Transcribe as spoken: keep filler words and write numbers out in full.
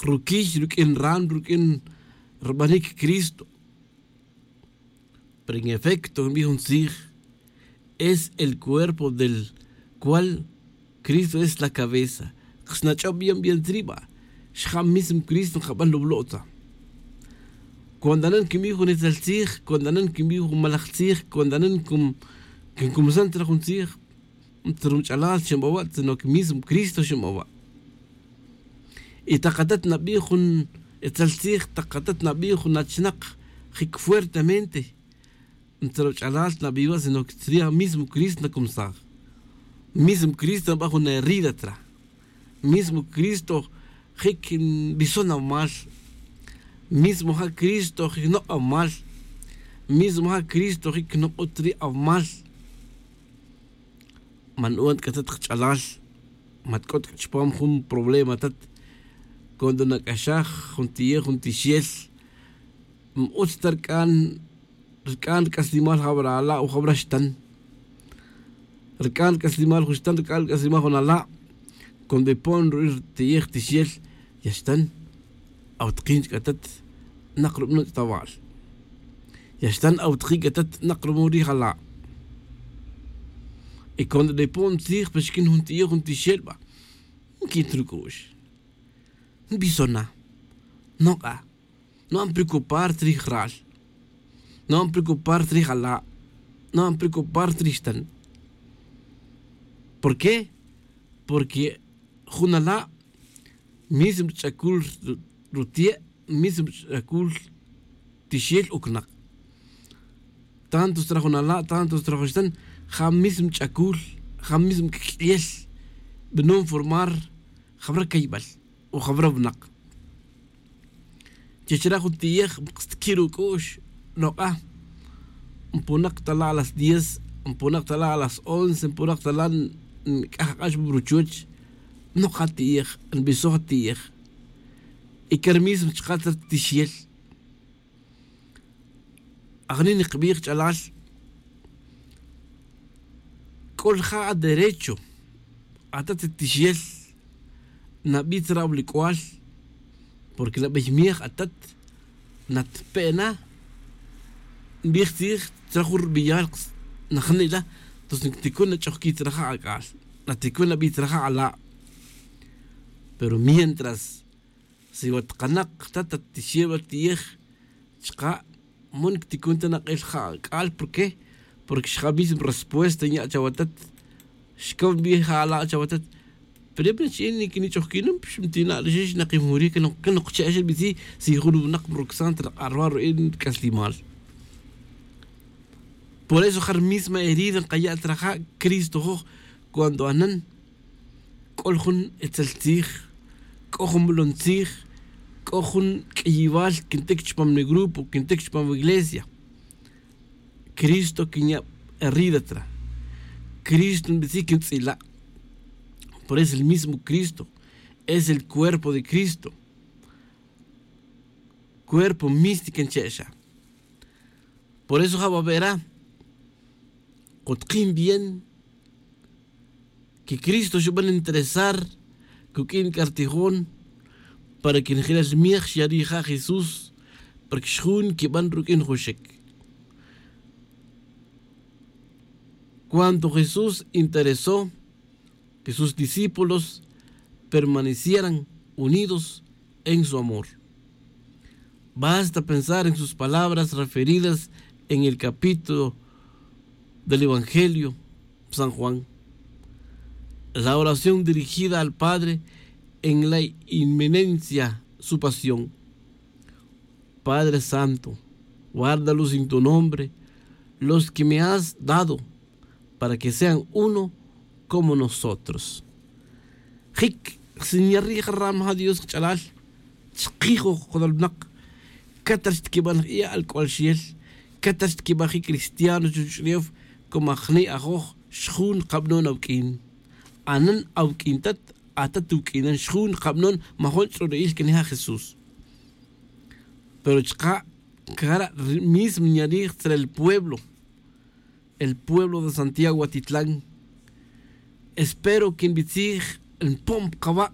ruquiy ruq'uin ran ruq'uin rbanic cristo. Pero en efecto nbij jun tzij, es el cuerpo del cual cristo es la cabeza. Xnach'ob bien bien tzri' ba, xja' mismo cristo nkaban lublo' tza. Cuando anan quinbij jun itzel tzij, cuando anan quinbij jun malaj tzij, cuando anan quincumsan tzra jun tzij, tzra jun ch'alal xinbawa' sino que mismo cristo xinbawa'. Y tak atat nabij jun itzel tzij, tak atat nabij jun achnak jic fuertemente, tzra ch'alal nabij wa' sino que tzri' mismo cristo nacumsaj. Mismo cristo naba' jun herida tzra. Mismo cristo jic nbison awmal. Mismo ja' cristo jic nok' awmal. Mismo ja' cristo jic nok'ut ri' awmal. Man u'an c'a tat kach'alal, mat c'ot c'a chupam jun problema tat. Cuando nac'axaj jun ti'ej jun tixel, n-utz ta rc'an rc'an rc'aslimal jawra ala' o jawra xtan. Rc'an rc'aslimal jun xtan, rc'an rc'aslimal jun ala'. Cuando ipon ru'ij rti'ej tixel, ya xtan, awtakin ch'atat, nak rubanon ch'atawal. Ya xtan awtakin ch'atat, nak rubanon rij ala'. Y cuando nipon tzij pa xiquin jun ti'ej jun tixel ba, nquin ta ruc'u'x, nbisona, nok'a, no van preocupar tzrij ral, no van preocupar tzrij ala', no van preocupar tzrij xtan. ¿Por qué? Porque jun ala' mismo ch'acul rutie', mismo ch'acul tixel ucnak. Tanto xtra jun ala', tanto xtra jun xtan, ja mismo ch'acul, ja mismo q'uiel, b'anon formar jawra caybal o jawra wnak. Chi chira' jun ti'ej, xtqui' ruc'u'x, nok'a, npunak ta la' a las diez, npunak ta la' a las once, npunak ta la' nc'aj ak'ax pa ruchuch. Nok'a ti'ej, nbisoj ti'ej. Y car mismo chka' ta ri tixel. Ajni' nkbij ch'alal, c'o rija' aderecho atat tixel, nabij tzra' awlic'ual, porque nabey miej atat, natpe' na, nbij tzij tzra' jun rbeyal najni' la. Entonces nticun nach'ojqui' tzra' ja' ac'al, naticun nabij tzra' ja' ala'. Pero mientras si wa tkanak ta ta tixel wa ti'ej, chka' man cticun ta nak'el ja' ac'al. ¿Por qué? Porque xja' mismo respuesta nya' chawatat. Xcam bi ja' ala' chawatat. Pero ya pinachi'in niquinich'ojquin num xmtina' rixix nakimuri que nokche' xel bitzi si jun winak mrucsan ta rak'a' ruwa' ru'in c'aslimal. Por eso ja ri misma herida nkaya' ta raja' cristo joj. Cuando anan c'o jun etzel tzij, c'o jun molon tzij, c'o jun q'uiyibal quintic chupam ni grupo, quintic chupam iglesia, cristo quinya' herida tra. Cristo nbitzi quintz'ila'. Por eso el mismo cristo es el cuerpo de cristo. Cuerpo mística nche'xa. Por eso ja' babera, kutkin bien que cristo xuban interesar cuq'uin c'a rtijon para que njelal miej xya' rija' jesús, para que xjun quiban ruq'uin juxic. Cuando jesús interesó que sus discípulos permanecieran unidos en su amor. Basta pensar en sus palabras referidas en el capítulo del evangelio san juan, la oración dirigida al padre en la inminencia su pasión. Padre santo, guárdalos en tu nombre, los que me has dado, para que sean uno como nosotros. Jic xsinya rij ram ja dios qch'alal. Chkij joj qolol winak, catar xtquiban j'i'al c'ual xiel, catar xtquiban jic cristiano chuch'ulef. Como ajni' ajoj xjun kabnon awq'uin, anan awq'uin tat, atat wuq'uinan xjun kabnon. Majon ch'rori'il quenija' jesús. Pero chka' cara' mismo nya rij tzra el pueblo, el pueblo de santiago atitlan. Espero que nbitzij npon pa kaba'